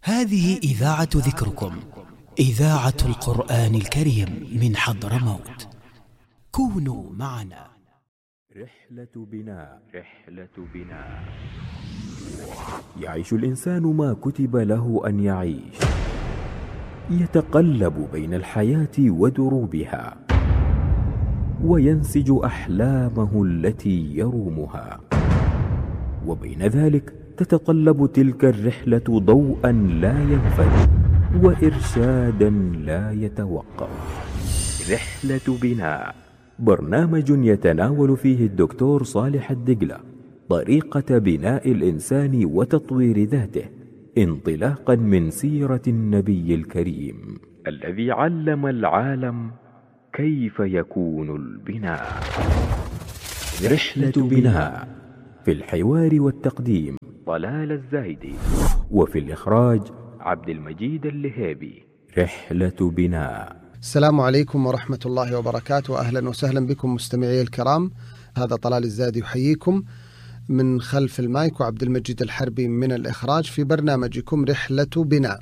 هذه إذاعة ذكركم، إذاعة القرآن الكريم من حضرموت. كونوا معنا. رحلة بناء. يعيش الإنسان ما كتب له أن يعيش، يتقلب بين الحياة ودروبها، وينسج أحلامه التي يرومها، وبين ذلك تتطلب تلك الرحلة ضوءا لا ينفد وإرشادا لا يتوقف. رحلة بناء، برنامج يتناول فيه الدكتور صالح الدقلة طريقة بناء الإنسان وتطوير ذاته، انطلاقا من سيرة النبي الكريم الذي علم العالم كيف يكون البناء. رحلة بناء، في الحوار والتقديم طلال الزايدي، وفي الإخراج عبد المجيد اللهيبي. رحلة بناء. السلام عليكم ورحمة الله وبركاته، أهلا وسهلا بكم مستمعي الكرام. هذا طلال الزايدي يحييكم من خلف المايك، وعبد المجيد الحربي من الإخراج في برنامجكم رحلة بناء.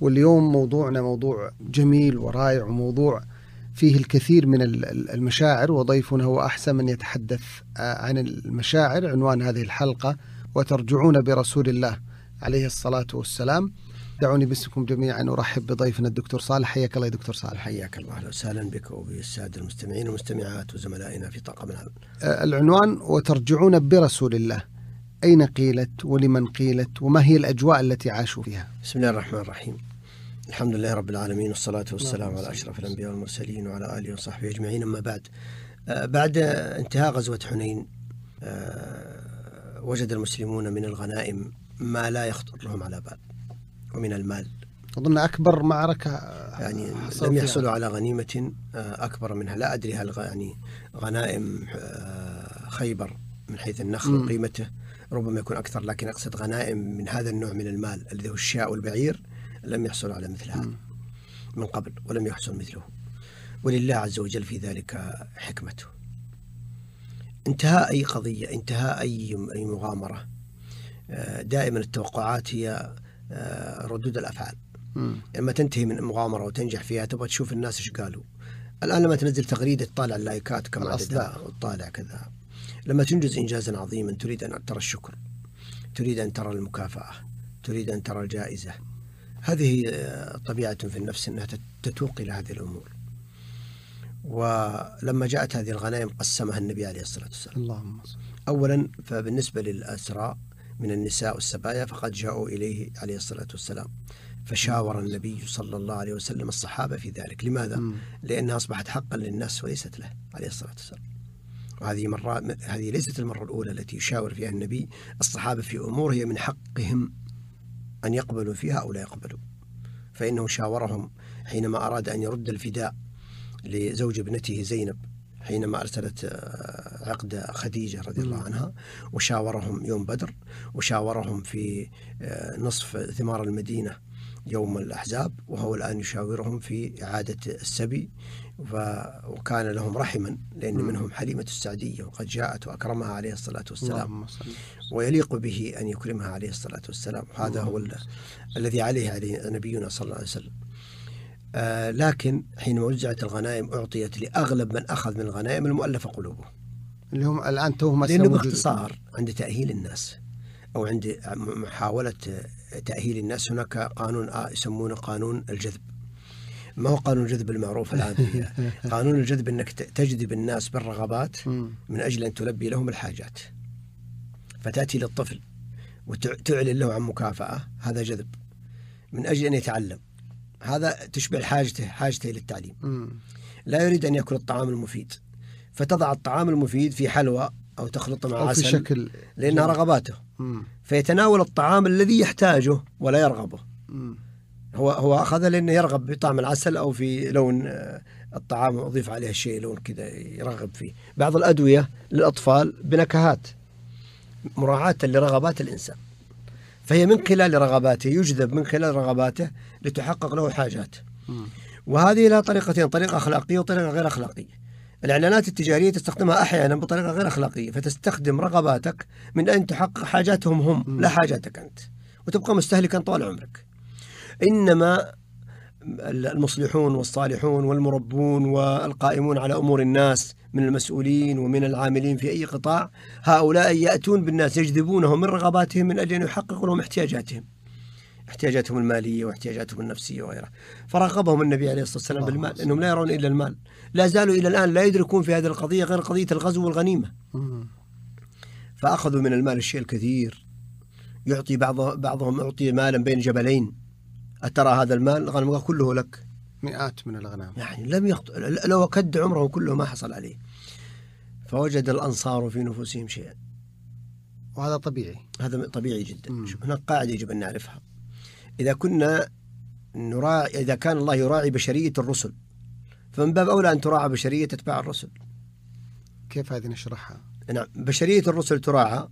واليوم موضوعنا موضوع جميل ورائع، وموضوع فيه الكثير من المشاعر، وضيفنا هو أحسن من يتحدث عن المشاعر. عنوان هذه الحلقة: وترجعون برسول الله عليه الصلاة والسلام. دعوني باسمكم جميعا أرحب بضيفنا الدكتور صالح. حياك الله يا دكتور صالح. حياك الله، أهلا وسهلا بك وبالسادة المستمعين والمستمعات وزملائنا في طاقم العمل. العنوان: وترجعون برسول الله. أين قيلت ولمن قيلت وما هي الأجواء التي عاشوا فيها؟ بسم الله الرحمن الرحيم. الحمد لله رب العالمين، والصلاة والسلام على أشرف الأنبياء والمرسلين وعلى آله وصحبه أجمعين. أما بعد، بعد انتهاء غزوة حنين وجد المسلمون من الغنائم ما لا يخطر لهم على بال، ومن المال أظن أكبر معركة يعني لم يحصلوا على غنيمة أكبر منها. لا أدري هل يعني غنائم خيبر من حيث النخل وقيمته ربما يكون أكثر، لكن أقصد غنائم من هذا النوع من المال الذي هو الشاء والبعير لم يحصلوا على مثل هذا من قبل، ولم يحصل مثله، ولله عز وجل في ذلك حكمته. انتهاء أي قضية، انتهاء أي مغامرة، دائما التوقعات هي ردود الأفعال. لما تنتهي من مغامرة وتنجح فيها تبغى تشوف الناس إيش قالوا. الآن لما تنزل تغريدة تطالع اللايكات كم عددها وتطالع كذا. لما تنجز إنجازا عظيما تريد أن ترى الشكر، تريد أن ترى المكافأة، تريد أن ترى الجائزة. هذه طبيعة في النفس أنها تتوق إلى هذه الأمور. ولما جاءت هذه الغنائم قسمها النبي عليه الصلاة والسلام. اللهم صل. أولا، فبالنسبة للأسرى من النساء والسبايا فقد جاءوا إليه عليه الصلاة والسلام، فشاور النبي صلى الله عليه وسلم الصحابة في ذلك. لماذا؟ لأنها أصبحت حقا للناس وليست له عليه الصلاة والسلام. هذه ليست المرة الأولى التي يشاور فيها النبي الصحابة في أمور هي من حقهم أن يقبلوا فيها أو لا يقبلوا. فإنه شاورهم حينما أراد أن يرد الفداء لزوج ابنته زينب حينما أرسلت عقد خديجة رضي الله عنها، وشاورهم يوم بدر، وشاورهم في نصف ثمار المدينة يوم الأحزاب، وهو الآن يشاورهم في إعادة السبي. وكان لهم رحما لأن منهم حليمة السعدية وقد جاءت وأكرمها عليه الصلاة والسلام، ويليق به أن يكرمها عليه الصلاة والسلام. هذا هو الذي عليه نبينا صلى الله عليه وسلم. لكن حينما وزعت الغنائم أعطيت لأغلب من أخذ من الغنائم المؤلفة قلوبه، اللي هم الآن توهم. لأنه باختصار عند تأهيل الناس أو عند محاولة تأهيل الناس هناك قانون يسمونه قانون الجذب. ما هو قانون الجذب المعروف الآن؟ قانون الجذب أنك تجذب الناس بالرغبات من أجل أن تلبي لهم الحاجات. فتأتي للطفل وتعلن له عن مكافأة، هذا جذب من أجل أن يتعلم. هذا تشبع حاجته للتعليم. لا يريد أن يأكل الطعام المفيد، فتضع الطعام المفيد في حلوى أو تخلط مع عسل في شكل لأنها رغباته. فيتناول الطعام الذي يحتاجه ولا يرغبه. هو أخذه لأنه يرغب بطعم العسل أو في لون الطعام أضيف عليه شيء لون كذا يرغب فيه. بعض الأدوية للأطفال بنكهات مراعاة لرغبات الإنسان، فهي من خلال رغباته يجذب من خلال رغباته لتحقق له حاجات. وهذه لها طريقتين: طريقة أخلاقية وطريقة غير أخلاقية. الإعلانات التجارية تستخدمها أحيانا بطريقة غير أخلاقية، فتستخدم رغباتك من أن تحقق حاجاتهم هم لا حاجاتك أنت، وتبقى مستهلكا طوال عمرك. إنما المصلحون والصالحون والمربون والقائمون على أمور الناس من المسؤولين ومن العاملين في أي قطاع، هؤلاء يأتون بالناس يجذبونهم من رغباتهم من أجل أن يحققوا لهم احتياجاتهم المالية واحتياجاتهم النفسية وغيرها. فرغبهم النبي عليه الصلاة والسلام بالمال، أنهم لا يرون إلا المال، لا زالوا إلى الآن لا يدركون في هذه القضية غير قضية الغزو والغنيمة. فأخذوا من المال الشيء الكثير، يعطي بعضهم يعطي مالا بين جبلين، أترى هذا المال الغنم كله لك، مئات من الأغنام، يعني لو كد عمره كله ما حصل عليه. فوجد الأنصار في نفوسهم شيئا، وهذا طبيعي، هذا طبيعي جدا. هناك قاعدة يجب أن نعرفها، إذا كان الله يراعي بشرية الرسل، فمن باب أولى أن تراعى بشرية أتباع الرسل. كيف هذه نشرحها؟ نعم، بشرية الرسل تراعى،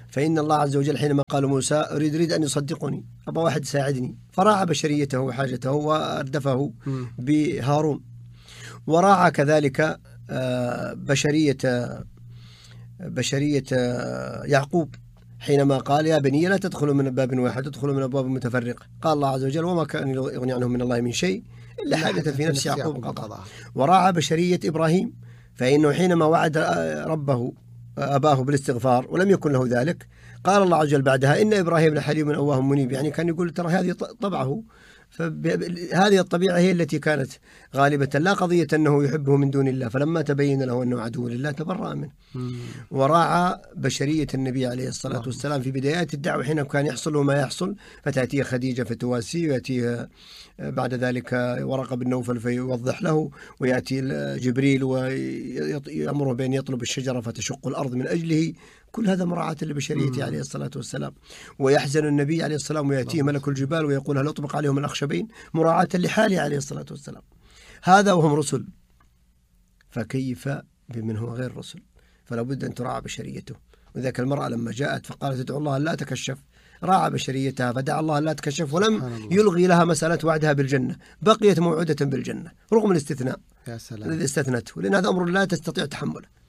فإن الله عز وجل حينما قال موسى أريد أن يصدقني، أبا واحد يساعدني، فراعى بشريته وحاجته وأردفه بهارون. وراعى كذلك بشرية يعقوب حينما قال يا بني لا تدخلوا من باب واحد، تدخلوا من أبواب متفرقة. قال الله عز وجل وما كان يغني عنهم من الله من شيء إلا حاجة في نفس يعقوب قضاها. وراعى بشرية إبراهيم، فإنه حينما وعد أباه بالاستغفار ولم يكن له ذلك، قال الله عز وجل بعدها إن إبراهيم لحليم أواه منيب، يعني كان يقول ترى هذه طبعه، فهذه الطبيعة هي التي كانت غالبة، لا قضية أنه يحبه من دون الله، فلما تبين له أنه عدو لله تبرأ منه. وراعى بشرية النبي عليه الصلاة والسلام في بدايات الدعوة، حين كان يحصل له ما يحصل، فتأتيه خديجة فتواسيه، ويأتيه بعد ذلك ورقة بن نوفل فيوضح له، ويأتي جبريل ويأمره بأن يطلب الشجرة فتشق الأرض من أجله. كل هذا مراعاة لبشريته عليه الصلاة والسلام. ويحزن النبي عليه الصلاة والسلام ويأتيه ملك الجبال ويقول هل أطبق عليهم الأخشبين، مراعاة لحاله عليه الصلاة والسلام. هذا وهم رسل، فكيف بمن هو غير رسل؟ فلا بد أن تراعى بشريته. وذاك المرأة لما جاءت فقالت ادعو الله لا تكشف، راعى بشريتها فدعا الله لا تكشف، ولم يلغي لها مسألة وعدها بالجنة، بقيت موعودة بالجنة رغم الاستثناء الذي استثنته، لأن هذا أمر لا تستطيع تحمله،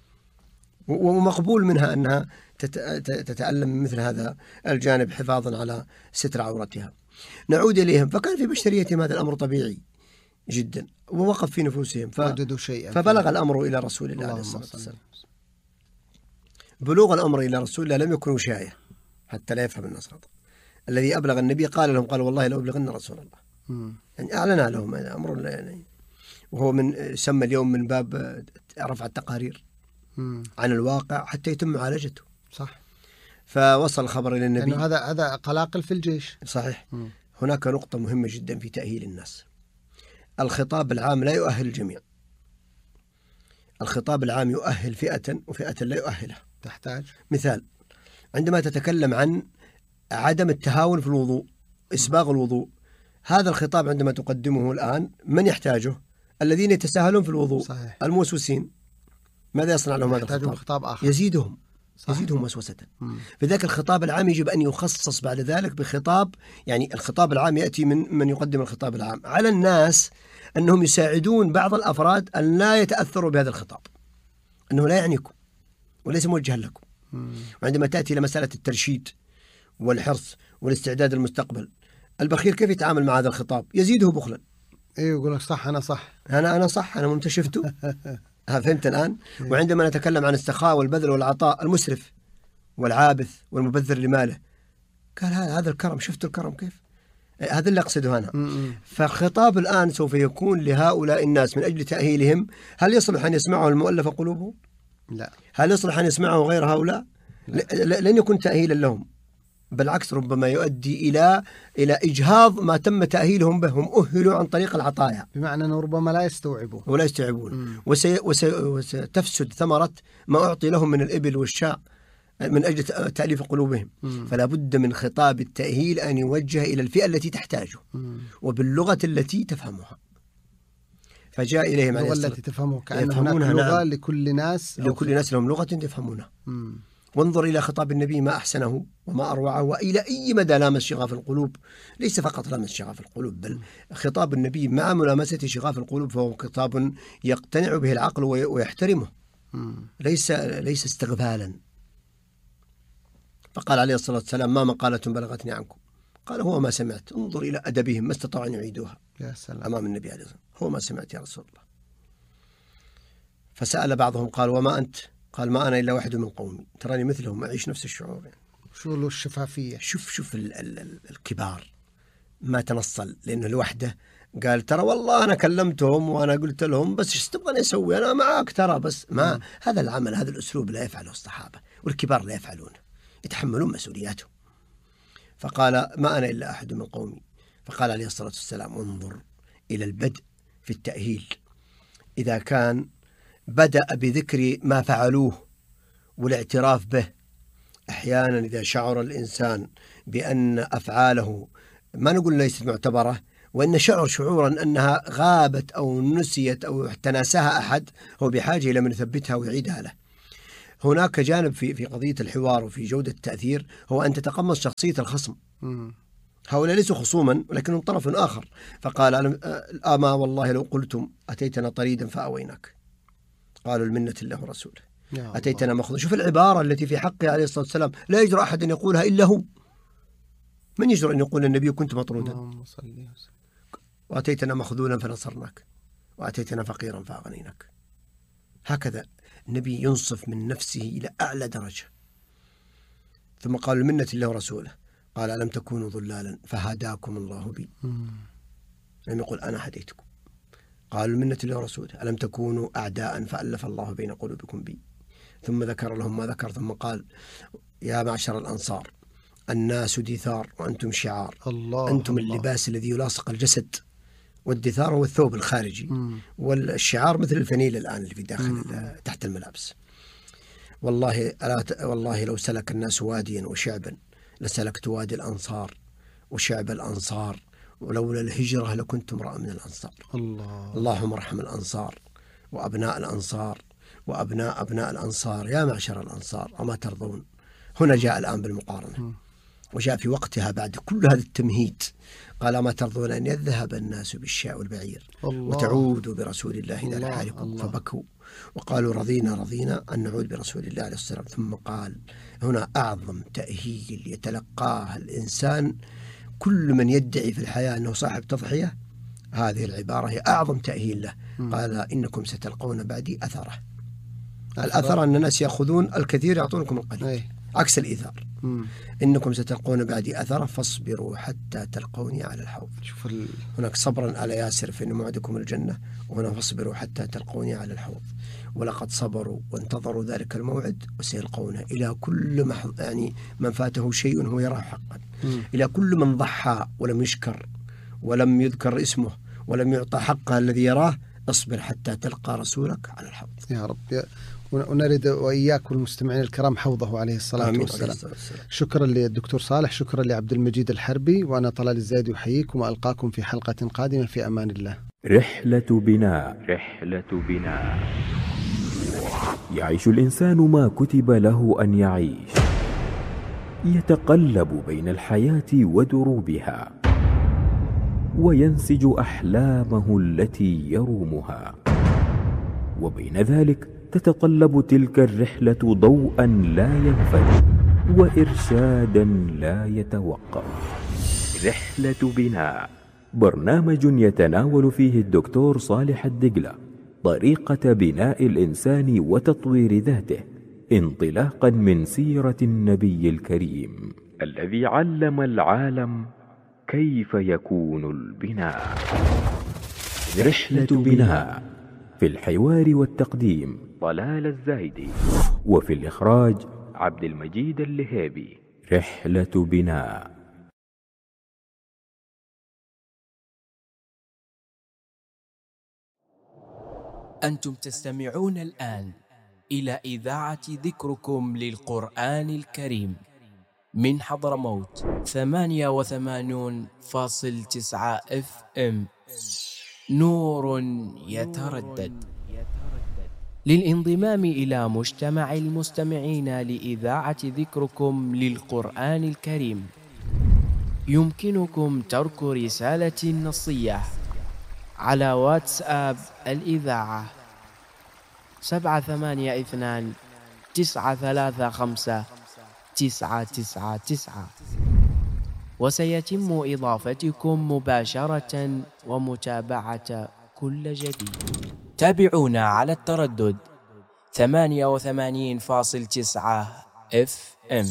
ومقبول منها أنها تتألم من مثل هذا الجانب حفاظا على ستر عورتها. نعود إليهم، فكان في بشريتهم هذا الأمر طبيعي جدا، ووقف في نفوسهم فبلغ الأمر إلى رسول الله عليه الصلاة والسلام. بلوغ الأمر إلى رسول الله لم يكن وشاية حتى لا يفهم الناس خطأ. الذي أبلغ النبي قال لهم قال والله لو أبلغن رسول الله، يعني أعلن لهم هذا أمر، يعني وهو من سمى اليوم من باب رفع التقارير عن الواقع حتى يتم معالجته. صح. فوصل الخبر إلى النبي. يعني هذا قلاقل في الجيش. صحيح. هناك نقطة مهمة جدا في تأهيل الناس. الخطاب العام لا يؤهل الجميع. الخطاب العام يؤهل فئة وفئة لا يؤهلها. تحتاج مثال، عندما تتكلم عن عدم التهاون في الوضوء، إسباغ الوضوء، هذا الخطاب عندما تقدمه الآن من يحتاجه؟ الذين يتساهلون في الوضوء. صحيح. الموسوسين، ماذا يصنع لهم هذا الخطاب؟ خطاب آخر يزيدهم وسوسة. فذاك الخطاب العام يجب أن يخصص بعد ذلك بخطاب، يعني الخطاب العام يأتي من يقدم الخطاب العام على الناس، أنهم يساعدون بعض الأفراد أن لا يتأثروا بهذا الخطاب، أنه لا يعنيكم وليس موجها لكم. وعندما تأتي إلى مسألة الترشيد والحرص والاستعداد للمستقبل، البخيل كيف يتعامل مع هذا الخطاب؟ يزيده بخلا. ايوه، يقول لك صح، أنا صح، أنا صح، أنا منتشفته. فهمت الآن؟ وعندما نتكلم عن السخاء والبذل والعطاء، المسرف والعابث والمبذر لماله، قال هذا الكرم، شفتوا الكرم كيف؟ هذا اللي أقصده أنا. فالخطاب الآن سوف يكون لهؤلاء الناس من أجل تأهيلهم. هل يصلح أن يسمعه المؤلفة قلوبهم؟ لا. هل يصلح أن يسمعه غير هؤلاء؟ لن يكون تأهيلا لهم، بالعكس ربما يؤدي إلى إجهاض ما تم تأهيلهم به. هم أهلوا عن طريق العطايا، بمعنى أنه ربما لا يستوعبون وستفسد ثمرة ما أعطي لهم من الإبل والشاء من أجل تأليف قلوبهم. فلا بد من خطاب التأهيل أن يوجه إلى الفئة التي تحتاجه وباللغة التي تفهمها. فجاء إليهم عليه الصلاة التي تفهمه، كأن هناك لغة. نعم. لكل ناس لهم لغة تفهمونها. وانظر إلى خطاب النبي ما أحسنه وما أروعه، وإلى أي مدى لامس شغاف القلوب. ليس فقط لامس شغاف القلوب، بل خطاب النبي مع ملامسة شغاف القلوب فهو خطاب يقتنع به العقل ويحترمه، ليس استغفالا. فقال عليه الصلاة والسلام ما مقالة بلغتني عنكم قال هو ما سمعت، انظر إلى أدبهم ما استطاعوا أن يعيدوها يا سلام. أمام النبي عليه الصلاة والسلام، هو ما سمعت يا رسول الله. فسأل بعضهم قال وما أنت؟ قال ما أنا إلا واحد من قومي، تراني مثلهم أعيش نفس الشعور يعني. شو له الشفافية. شوف الكبار ما تنصل لأنه لوحده، قال ترى والله أنا كلمتهم وأنا قلت لهم بس ايش تبغى أسوي أنا معك ترى بس ما هذا العمل هذا الأسلوب لا يفعله الصحابة والكبار لا يفعلونه، يتحملون مسؤولياتهم. فقال ما أنا إلا أحد من قومي. فقال عليه الصلاة والسلام انظر إلى البدء في التأهيل، إذا كان بدأ بذكر ما فعلوه والاعتراف به. أحيانا إذا شعر الإنسان بأن أفعاله ما نقول ليست معتبرة، وإن شعورا أنها غابت أو نسيت أو تناساها أحد، هو بحاجة إلى من يثبتها ويعيدها له. هناك جانب في قضية الحوار وفي جودة التأثير، هو أن تتقمص شخصية الخصم. هؤلاء ليسوا خصوما ولكنهم طرف آخر. فقال أما والله لو قلتم أتيتنا طريدا فأويناك، قالوا المنة الله ورسوله، أتيتنا مخضوضا. شوف العبارة التي في حقه عليه الصلاة والسلام لا يجرؤ أحد أن يقولها إلا هو. من يجرؤ أن يقول النبي كنت مطرودا؟ وأتيتنا مخذولا فنصرناك، وأتيتنا فقيرا فأغنيناك. هكذا النبي ينصف من نفسه إلى أعلى درجة. ثم قالوا المنة الله ورسوله، قال ألم تكونوا ضلالا فهداكم الله بي. لم يقل أنا هديتكم. قالوا المنة الله ورسوله، ألم تكونوا أعداء فألف الله بين قلوبكم بي. ثم ذكر لهم ما ذكر، ثم قال يا معشر الأنصار الناس دثار وأنتم شعار. أنتم اللباس الذي يلاصق الجسد، والدثار هو الثوب الخارجي، والشعار مثل الفنيل الآن اللي في داخل تحت الملابس. والله لو سلك الناس واديا وشعبا لسلكت وادي الأنصار وشعب الأنصار، ولولا الهجرة لكنت امرأ من الأنصار. اللهم ارحم الأنصار وأبناء الأنصار وأبناء أبناء الأنصار يا معشر الأنصار أما ترضون. هنا جاء الآن بالمقارنة، وجاء في وقتها بعد كل هذا التمهيد. قال ما ترضون أن يذهب الناس بالشاء والبعير وتعودوا برسول الله إلى رحالكم. فبكوا وقالوا رضينا أن نعود برسول الله عليه الصلاة والسلام. ثم قال هنا أعظم تأهيل يتلقاه الإنسان، كل من يدعي في الحياة أنه صاحب تضحية، هذه العبارة هي أعظم تأهيل له. قال إنكم ستلقون بعدي أثره. الأثر أن الناس يأخذون الكثير يعطونكم القليل، عكس الإيثار. إنكم ستلقون بعدي أثره فاصبروا حتى تلقوني على الحوض. هناك صبرا على ياسر فإن موعدكم الجنة، وهنا فاصبروا حتى تلقوني على الحوض. ولقد صبروا وانتظروا ذلك الموعد وسيلقونه. إلى كل يعني من فاته شيء هو يراه حقا، إلى كل من ضحى ولم يشكر ولم يذكر اسمه ولم يعطى حقه الذي يراه، اصبر حتى تلقى رسولك على الحوض. يا رب. ونرد وإياك والمستمعين الكرام حوضه عليه الصلاة والسلام. شكرا للدكتور صالح، شكرا لعبد المجيد الحربي، وأنا طلال الزايدي أحييكم وألقاكم في حلقة قادمة في أمان الله. رحلة بناء. يعيش الإنسان ما كتب له أن يعيش، يتقلب بين الحياة ودروبها، وينسج أحلامه التي يرومها، وبين ذلك تتطلب تلك الرحلة ضوءا لا ينفد وإرشادا لا يتوقف. رحلة بناء، برنامج يتناول فيه الدكتور صالح الدقلة طريقة بناء الإنسان وتطوير ذاته، انطلاقا من سيرة النبي الكريم الذي علم العالم كيف يكون البناء. رحلة بناء، في الحوار والتقديم طلال الزايدي، وفي الإخراج عبد المجيد اللهيبي. رحلة بناء. أنتم تستمعون الآن إلى إذاعة ذكركم للقرآن الكريم من حضرموت 88.9 FM، نور يتردد. للانضمام إلى مجتمع المستمعين لإذاعة ذكركم للقرآن الكريم يمكنكم ترك رسالة نصية على واتساب الإذاعة 782-935-999. وسيتم إضافتكم مباشرة ومتابعة كل جديد. تابعونا على التردد 88.9 FM.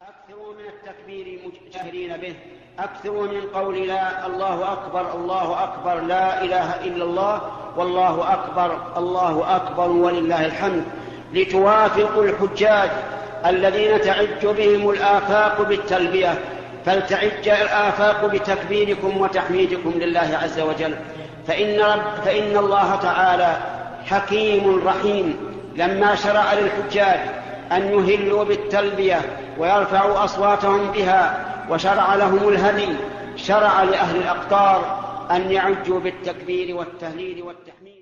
أكثروا من التكبير مجهرين به، أكثروا من قول لا الله أكبر الله أكبر لا إله إلا الله والله أكبر الله أكبر ولله الحمد، لتوافقوا الحجاج الذين تعج بهم الآفاق بالتلبية، فلتعج الآفاق بتكبيركم وتحميدكم لله عز وجل. فإن الله تعالى حكيم رحيم لما شرع للحجاج أن يهلوا بالتلبية ويرفعوا أصواتهم بها، وشرع لهم الهدي، شرع لأهل الأقطار أن يعجوا بالتكبير والتهليل والتحميد.